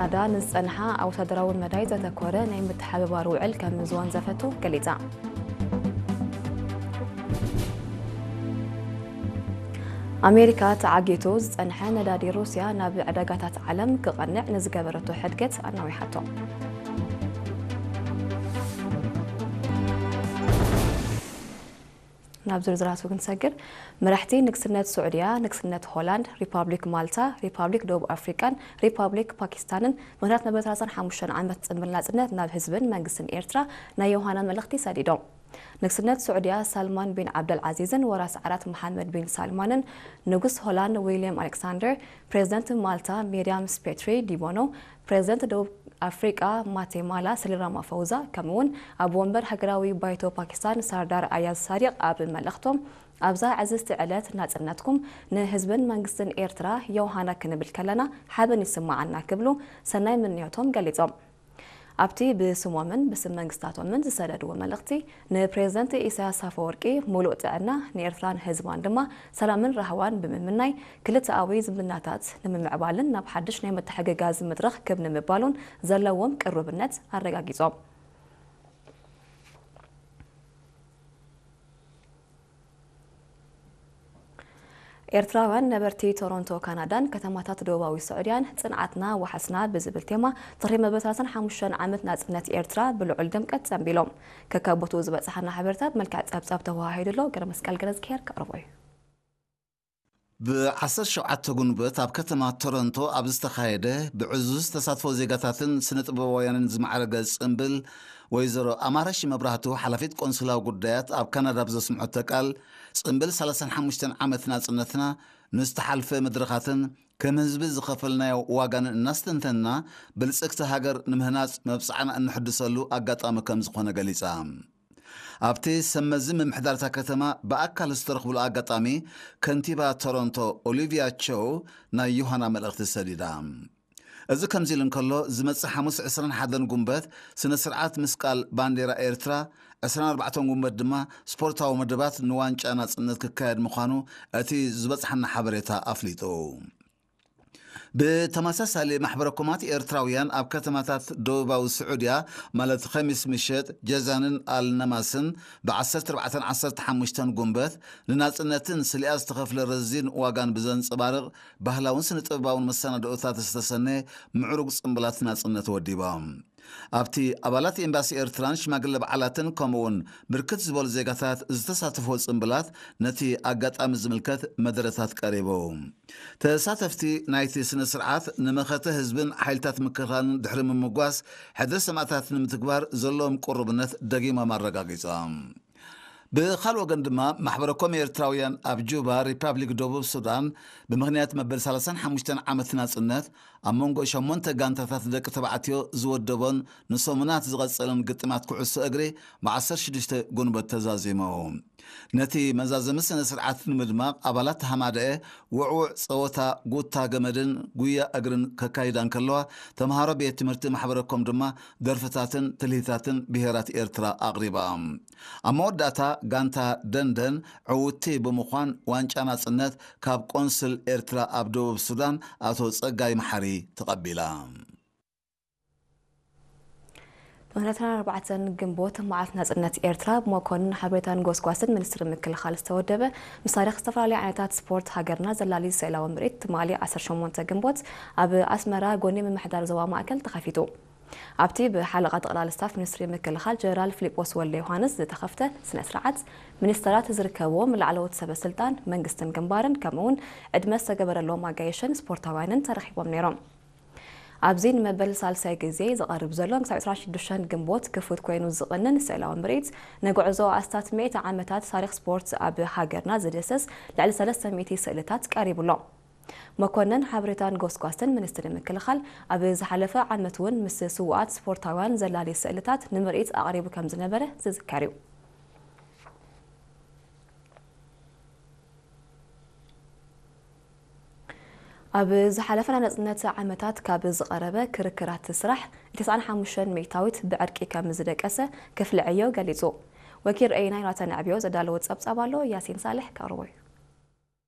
ካናዳ ንዝጸንሓ ኣብ ወታደራዊ መዳይ ዘተኮረ ናይ ምትሕብባር ውዕል ከም ዝወንዘፈቶ ገሊጻ። ኣሜሪካ ተዓጊቱ ዝጸንሐ ነዳዲ ሩስያ ናብ ዕዳጋታት ዓለም ክቐንዕ ንዝገበረቶ ሕድገት ኣናዊሓቶ። ናብ ዝርዝራቱ ክንሰግር፣ መራሕቲ ንግስነት ስዑድያ፣ ንግስነት ሆላንድ፣ ሪፓብሊክ ማልታ፣ ሪፓብሊክ ደቡብ ኣፍሪቃን ሪፓብሊክ ፓኪስታንን ምኽንያት መበል ሰላሳን ሓሙሽተን ዓመት ጽምብል ናጽነት ናብ ህዝብን መንግስትን ኤርትራ ናይ ዮሃና መልእኽቲ ሰዲዶም። ንግስነት ስዑድያ ሳልማን ቢን ዓብደል ዓዚዝን ወራስ ዓራት መሓመድ ቢን ሳልማንን፣ ንጉስ ሆላንድ ዊልያም ኣሌክሳንደር፣ ፕሬዚደንት ማልታ ሚርያም ስፔትሪ ዲቦኖ፣ ፕሬዚደንት ደቡብ ኣፍሪቃ ማቴማላ ስሊን ራማፎዛ፣ ከምኡውን ኣብ ወንበር ሃገራዊ ባይቶ ፓኪስታን ሳርዳር ኣያዝ ሳዲቅ ኣብ መልእኽቶም፣ ኣብዛ ዕዝዝቲ ዕለት ናጽነትኩም ንህዝብን መንግስትን ኤርትራ ዮሃና ክንብል ከለና ሓበን ይስማዓና ክብሉ ሰናይ ምንዮቶም ገሊጾም። ኣብቲ ብስሞምን ብስም መንግስታቶምን ዝሰደድዎ መልእኽቲ፣ ንፕሬዚደንት ኢሳያስ ኣፈወርቂ ሙሉእ ጥዕና፣ ንኤርትራን ህዝባን ድማ ሰላምን ራህዋን ብምምናይ፣ ክልተኣዊ ዝምድናታት ንምምዕባልን ናብ ሓድሽ ናይ ምትሕግጋዝ መድረኽ ክብ ንምባሉን ዘለዎም ቅሩብነት ኣረጋጊጾም። ኤርትራውያን ነበርቲ ቶሮንቶ ካናዳን ከተማታት ደቡባዊ ስዑድያን ጽንዓትና ዋሕስና ብዝብል ቴማ ድሕሪ መበል ሰላሳን ሓሙሽተን ዓመት ናጽነት ኤርትራ ብልዑል ድምቀት ጸንቢሎም። ከካብ ቦትኡ ዝበጽሓና ሓበሬታ ብመልክዕ ጸብጻብ ተወሃሂዱ ኣሎ። ገረመስቀል ገረዝግሄር ከቕርቦ እዩ። ብዓሰርተ ሸውዓተ ጉንበት ኣብ ከተማ ቶሮንቶ ኣብ ዝተኻየደ ብዕዙዝ ተሳትፎ ዜጋታትን ስነ ጥበባውያንን ዝማዕረገ ጽምብል፣ ወይዘሮ ኣማረሽ መብራህቱ፣ ሓላፊት ቆንስላዊ ጉዳያት ኣብ ካናዳ፣ ብዘስምዐቶ ቃል፣ ጽምብል ሰላሳን ሓሙሽተን ዓመት ናጽነትና ንዝተሓልፈ መድረኻትን ከም ህዝቢ ዝኸፈልናዮ ዋጋን እናስተንተንና፣ ብልጽግቲ ሃገር ንምህናጽ መብጽዓና እንሕድሰሉ ኣጋጣሚ ከም ዝኾነ ገሊጻ። ኣብቲ ሰብ መዚ ምምሕዳር እታ ከተማ ብኣካል ዝተረኽብሉ ኣጋጣሚ፣ ከንቲባ ቶሮንቶ ኦሊቪያ ቸው ናይ ዮሃና መልእኽቲ ሰዲዳ። እዚ ከምዚ ኢሉ እንከሎ፣ ዝመጽእ ሓሙስ ዕስራን ሓደን ጉንበት ስነ ስርዓት ምስቃል ባንዴራ ኤርትራ፣ ዕስራን ኣርባዕተን ጉንበት ድማ ስፖርታዊ መደባት ንዋንጫ ናጽነት ክካየድ ምዃኑ እቲ ዝበጽሓና ሓበሬታ ኣፍሊጡ። ብተመሳሳሊ፣ ማሕበረ ኮማት ኤርትራውያን ኣብ ከተማታት ደቡባዊ ስዑድያ፣ ማለት ኸሚስ ምሸት፣ ጀዛንን ኣልነማስን፣ ብ ዓሰርተ ኣርባዕተን ዓሰርተ ሓሙሽተን ጉንበት ንናጽነትን ስሊኣ ዝተኸፍለ ረዚን ዋጋን ብዘንጸባርቕ ባህላውን ስነ ጥበባውን መሰናድኦታት ዝተሰነየ ምዕሩግ ጽምብላት ናጽነት ወዲቦም። ኣብቲ ኣባላት ኤምባሲ ኤርትራን ሽማግለ በዓላትን ከምኡውን ብርክት ዝበሉ ዜጋታት ዝተሳተፍዎ ጽምብላት ነቲ ኣጋጣሚ ዝምልከት መደረታት ቀሪቡ። ተሳተፍቲ ናይቲ ስነ ስርዓት ንመኸተ ህዝብን ሓይልታት ምክልኻልን ድሕሪ ምምጓስ ሕድሪ ሰማእታት ንምትግባር ዘለዎም ቅሩብነት ደጊሞም ኣረጋጊጾም። ብኻልእ ወገን ድማ ማሕበረ ኮም ኤርትራውያን ኣብ ጁባ፣ ሪፓብሊክ ደቡብ ሱዳን፣ ብምኽንያት መበል ሰላሳን ሓሙሽተን ዓመት ናጽነት ኣብ መንጎ ሸሞንተ ጋንታታት ደቂ ተባዕትዮ ዝወደቦን ንሰሙናት ዝቐጸለን ግጥማት ኩዕሶ እግሪ ብ ዓሰርተ ሽዱሽተ ጉንበት ተዛዚሙ። ነቲ መዛዘሚ ስነ ስርዓት ንምድማቕ ኣባላት ሃማደኤ ውዕውዕ ጸወታ ጉታ ገመድን ጉያ እግርን ከካይዳ እንከለዋ፣ ተምሃሮ ቤት ትምህርቲ ማሕበረ ኮም ድማ ደርፍታትን ትልሂታትን ብሄራት ኤርትራ ኣቕሪባ። ኣብ መወዳእታ ጋንታ ደንደን ዕውቲ ብምዃን ዋንጫ ናጽነት ካብ ቆንስል ኤርትራ ኣብ ደቡብ ሱዳን ኣቶ ጸጋይ መሓሪ ተቐቢላ። ብኽንደትን ኣርባዕተን ግንቦት መዓልቲ ናጽነት ኤርትራ ብመኮንን ሓበሬታን ጎስጓስን ሚኒስትሪ ምክልኻል ዝተወደበ፣ ምስ ታሪኽ ዝተፈላለዩ ዓይነታት ስፖርት ሃገርና ዘላሊ ስእላዊ ምርኢት ትማሊ ዓሰርተ ሸሞንተ ግንቦት ኣብ ኣስመራ ጎኒ ምምሕዳር ዞባ ማእከል ተኸፊቱ። ኣብቲ ብሓለቓ ጠቕላሊ ስታፍ ሚኒስትሪ ምክልኻል ጀነራል ፊሊጶስ ወልደ ዮሃንስ ዝተኸፍተ ስነ ስርዓት፣ ሚኒስተራት ዝርከብዎም ላዕለዎት ሰበ ስልጣን መንግስትን ግንባርን ከምኡውን ዕድመ ዝተገበረሎም ኣጋይሽን ስፖርታውያንን ተረኺቦም ነይሮም። ኣብዚ ንመበል ሳልሳይ ግዜ ዝቐርብ ዘሎ ክሳብ ዕስራን ሽዱሽተን ግንቦት ክፉት ኮይኑ ዝቕንን ስእላዊ ምርኢት፣ ንጉዕዞ ኣስታት ሚእቲ ዓመታት ታሪኽ ስፖርት ኣብ ሃገርና ዝድህስስ ልዕሊ ሰለስተ ሚእቲ ስእልታት ቀሪቡ ኣሎ። መኮንን ሓበሬታን ጎስጓስን ሚኒስትሪ ምክልኻል ኣብ ዝሓለፈ ዓመት እውን ምስ ስዉኣት ስፖርታውያን ዘላሊ ስእልታት ንምርኢት ኣቕሪቡ ከም ዝነበረ ዝዝከር እዩ። ኣብ ዝሓለፈ ናይ ናጽነት ዓመታት ካብ ዝቐረበ ክርክራት ስራሕ፣ ተስዓን ሓሙሽተን ሚእታዊት ብዕርቂ ከም ዝደቀሰ ክፍሊ ዕዮ ገሊጹ። ወኪል ርአይና ዮናታን ዕብዮ ዘዳለዎ ጸብጻብ ኣሎ፣ ያሲን ሳልሕ ከቕርቦ እዩ።